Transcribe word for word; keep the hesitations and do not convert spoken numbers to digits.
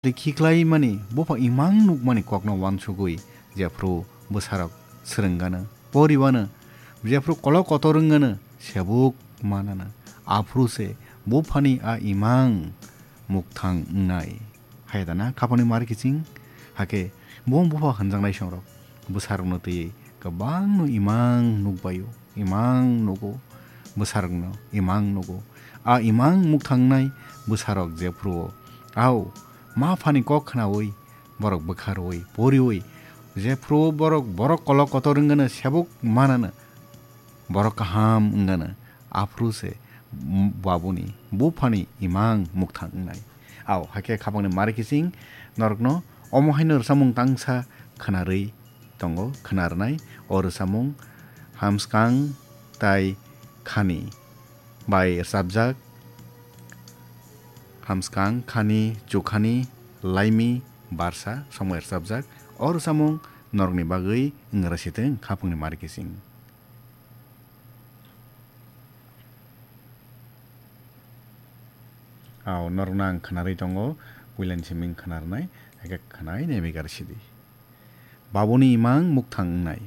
Khiklaimani, bupha imang nukmani kokno wansugwi jephru bwsarok swrwngano, poriwano, jephru kolok kotor wngano, sebuk manano, aphuru se buphani a imang mukthang wngnai. Hayadana khapangni mar kiching, hake bung bupha hwnjaknai songrok bwsarokno twiwi kwbangno imang nukbaio, imang nugo, bwsarokno imang nugo. A imang mukthang wngnai bwsarok jephruo, au, ma phani kok khnaui, borok bwkha rwui, poriui, jephruo borok, borok kolok kotor wngano, sebuk manano, borok kaham wngano, aphuru se, m-, babuni, buphani imang mukthang wngnai. Au, hakhe khapangni mar kiching norokno omo haino rwchapmung tangsa khwnarwi tongo, khwnarnai. O rwchapmung Hamskang tai Khani bai rwchapjak. Hamskang, Khani, Chukhani, Laimi, Barsa, somoi rwchapjak. O rwchapmung norokni bagwi wngra sitwng khapangni mar kiching. Au, norokno ang khwnarwi tongo, puilani simi wng khwnarnai, hakhe khwnai naiwi gar sidi. Babuni imang mukthang wngnai.